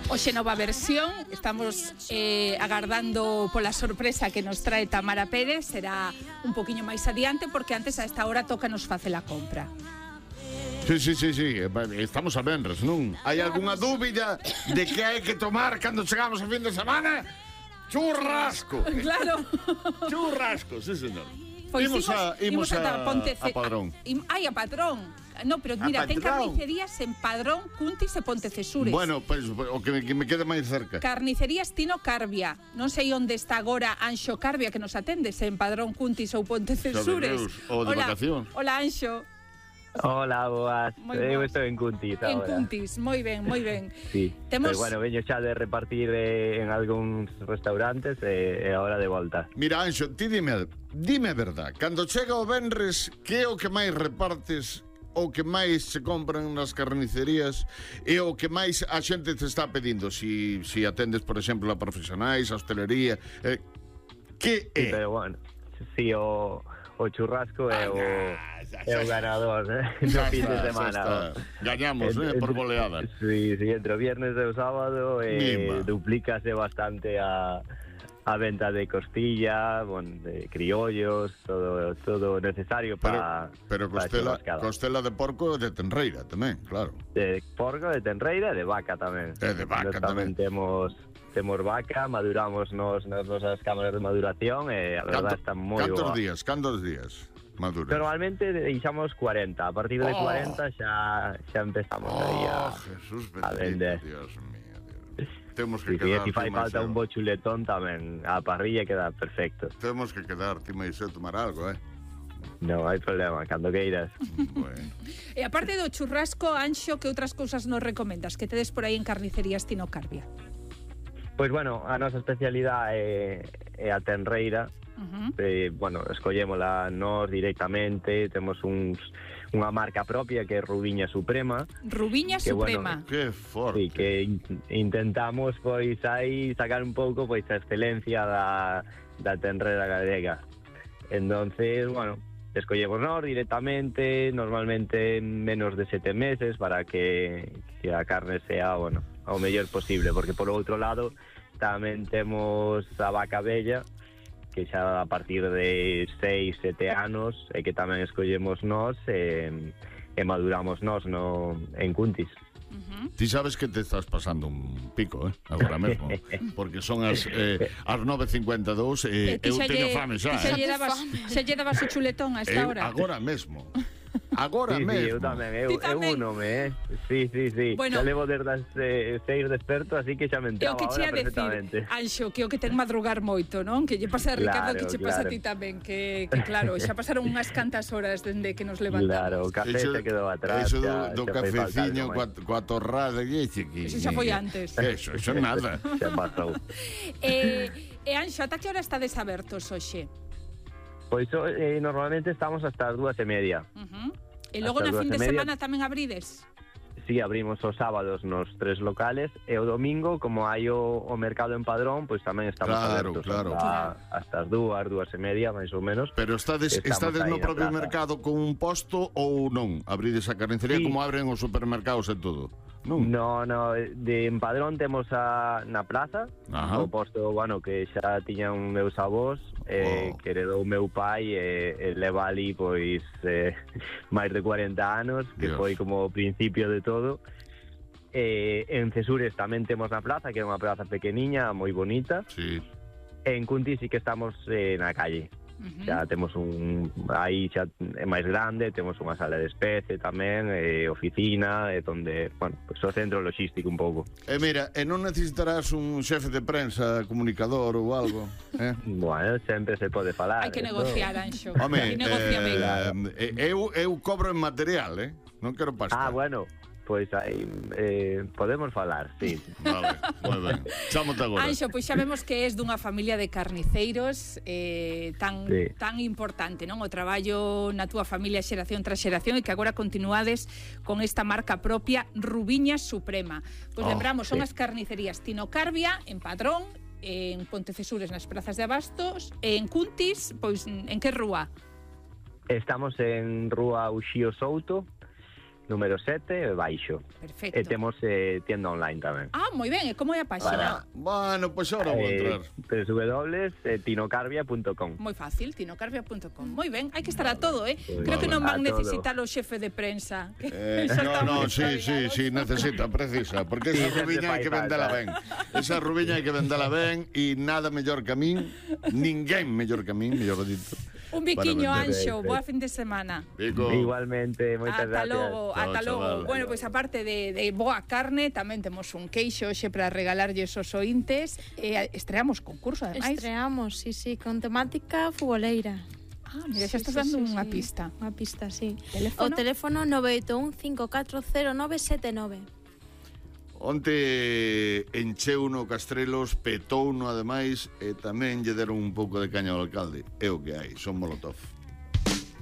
Hoxe nova versión, estamos agardando pola sorpresa que nos trae Tamara Pérez, será un poquinho máis adiante porque antes a esta hora toca nos facer a compra. Sí, estamos a venres, non? Hai algunha dúbida de que hai que tomar cando chegamos a fin de semana? Churrasco! Claro. Churrasco, sí, señor. Pois imos a Padrón. Ai, a Padrón. No, pero mira, ten carnicerías en Padrón, Cuntis e Pontecesures. Bueno, pues, o que me quede máis cerca. Carnicerías Tino Carbia. Non sei onde está agora Anxo Carbia, que nos atende, se en Padrón, Cuntis ou Pontecesures. Ou de vacación. Hola, Anxo. Hola, boas. Eu estou en Cuntis agora. En Cuntis, moi ben, moi ben. Sí, pero bueno, veño xa de repartir en algúns restaurantes e agora de volta. Mira, Anxo, ti dime a verdad. Cando chega o venres, que é o que máis repartes, o que máis se compran nas carnicerías e o que máis a xente te está pedindo? Si atendes, por exemplo, a profesionais, a hostelería, que é? Sí, pero bueno, si o churrasco é o ganador no fin de semana. Gañamos, por goleada. Sí, entre o viernes e o sábado duplícase bastante a venta de costilla, de criollos, todo necesario para... Pero costela de porco e de tenreira tamén, claro. De porco, de tenreira e de vaca tamén. E de vaca tamén. Temos vaca, maduramos nas nosas cámaras de maduración e a verdade está moi boa. Cantos días maduras? Normalmente deixamos 40, a partir de 40 xa empezamos aí a vender. Dios mío. Temos que quedar. Si fai falta un bo chuletón tamén, a parrilla queda perfecto. Temos que quedar, ti máis tomar algo, Non hai problema, cando queiras. Bueno. E aparte do churrasco, Anxo, que outras cousas nos recomendas que tedes por aí en carnicerías Tino Carbia? Pois bueno, a nosa especialidade é a tenreira. Bueno, escollémola nós directamente, temos unha marca propia que é Rubiña Suprema. Rubiña Suprema. Bueno, que forte. Sí, que intentamos pois aí sacar un pouco pois a excelencia da tenreira galega. Entonces, bueno, escollemos nós directamente, normalmente en menos de 7 meses para que a carne sea, bueno, o mellor posible, porque por outro lado tamén temos a vaca bella, que xa a partir de 6, 7 anos e que tamén escollemos nós e maduramos nós en Cuntis. Ti sabes que te estás pasando un pico, agora mesmo, porque son as 9:52 e eu teño fame xa. Xa lle dabas o chuletón a esta hora. Agora mesmo. Agora mesmo. Eu tamén, eu unome, Sí. Bueno, xa levo desde as 6 desperto, así que xa me entraba ahora perfectamente. Anxo, que o que ten madrugar moito, non? Que lle pasa a Ricardo, que che pasa a ti tamén, que claro, xa pasaron unhas cantas horas dende que nos levantamos. Claro, o café se quedou atrás. Eso do cafeciño coa torrada que eso xa foi antes. Eso nada. Xa pasou. E Anxo, ata que hora estades abertos hoxe? Pois normalmente estamos hasta as 2:30. E logo na fin de semana tamén abrides? Sí, abrimos os sábados nos 3 locales e o domingo, como hai o mercado en Padrón, pois tamén estamos abertos hasta as 2:30, máis ou menos. Pero estades no propio mercado con un posto ou non? Abrides a carnicería como abren os supermercados e todo? No, en Padrón temos na plaza, o posto, bueno, que xa tiñan meus avós, que heredou meu pai e leva ali pois máis de 40 anos, que foi como o principio de todo. En Cesures tamén temos na plaza, que é unha plaza pequeniña, moi bonita. Sí. En Cuntis sí que estamos na calle. Xa temos aí xa é máis grande, temos unha sala de especie tamén, oficina, onde, bueno, pues o centro logístico un pouco. Mira, non necesitarás un xefe de prensa, comunicador ou algo, Bueno, sempre se pode falar. Hai que negociar, Anxo. Home, eu cobro en material, non quero pasta. Bueno, pois aí podemos falar, sí. Vale, moi ben. Chámote agora. Anxo, pois xa vemos que és dunha familia de carniceiros tan importante, non? O traballo na túa familia xeración tras xeración e que agora continuades con esta marca propia Rubiña Suprema. Pois lembramos, son as carnicerías Tino Carbia en Padrón, en Pontecesures nas prazas de abastos, en Cuntis, pois en que rúa? Estamos en Rúa Uxío Souto, número 7, baixo. Perfecto. E temos tienda online tamén. Ah, moi ben, e como é a páxina? Bueno, pois ahora vou entrar. www.tinocarvia.com. Moi fácil, tinocarvia.com. Moi ben, hai que estar a todo, Pues creo que non van a todo. necesitar o xefe de prensa. No, sí, necesita, precisa, porque esa rubiña hai que vendela ben. Esa rubiña hai que vendela ben e nada mellor que a min, ninguén mellor que a min, mellor dito. Un biquiño, Anxo, boa fin de semana. Pico. Igualmente, moitas Ata gracias. logo, ata Chao, logo. chaval. Bueno, pois aparte de boa carne, tamén temos un queixo hoxe para regalarlles aos ointes. Estreamos concurso, ademais. Estreamos, sí, con temática futboleira. Ah, mira, xa estás dando unha pista. Unha pista, sí. Teléfono? O teléfono 981-540-979. Onte encheu no Castrelos, petou no ademais e tamén lle deron un pouco de caña ao alcalde. É o que hai, son Molotov.